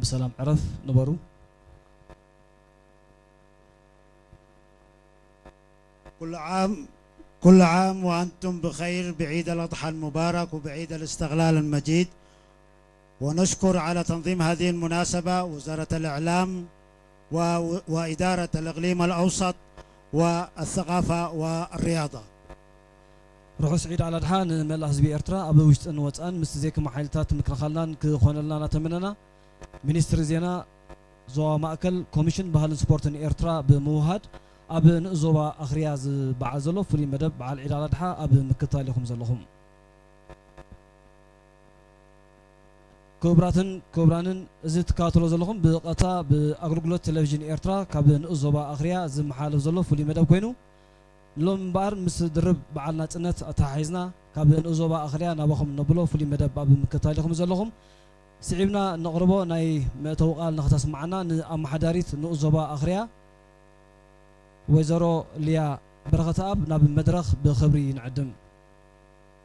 ብሰላም ዕረፍ ንበሩ። كل عام كل عام وأنتم بخير بعيد الأضحى المبارك وبعيد الاستقلال المجيد. ونشكر على تنظيم هذه المناسبة وزارة الإعلام و- وإدارة الإقليم الأوسط والثقافة والرياضة. ርሑስ ዒድ ኣልኣድሓ ንመላእ ህዝቢ ኤርትራ ኣብ ውሽጥን ወጻእን ምስ ዘይክማ ሓይልታት ምክልኻልናን ክኾነልና እናተመነና፣ ሚኒስትሪ ዜና ዞባ ማእከል ኮሚሽን ባህልን ስፖርትን ኤርትራ ብምውሃድ ኣብ ንኡስ ዞባ ኣኽርያ ዝበዓል ዘሎ ፍሉይ መደብ በዓል ዒድ ኣልኣድሓ ኣብ ምክትታል ኢኹም ዘለኹም። ክቡራትን ክቡራንን፣ እዚ ትከታተሎ ዘለኹም ብቐጥታ ብኣገልግሎት ቴሌቪዥን ኤርትራ ካብ ንኡስ ዞባ ኣኽርያ ዝመሓለፍ ዘሎ ፍሉይ መደብ ኮይኑ፣ ሎም እምበኣር ምስ ድርብ በዓል ናጽነት ኣተሓሒዝና ካብ ንኡስ ዞባ ኣኽርያ ናባኹም ነብሎ ፍሉይ መደብ ኣብ ምክትታል ኢኹም ዘለኹም። ስዒብና ነቕርቦ ናይ መእተዊ ቃል ንኸተስምዓና ንኣመሓዳሪት ንኡስ ዞባ ኣኽርያ ወይዘሮ ሊያ በረኸተኣብ ናብ መድረኽ ብኽብሪ ንዕድም።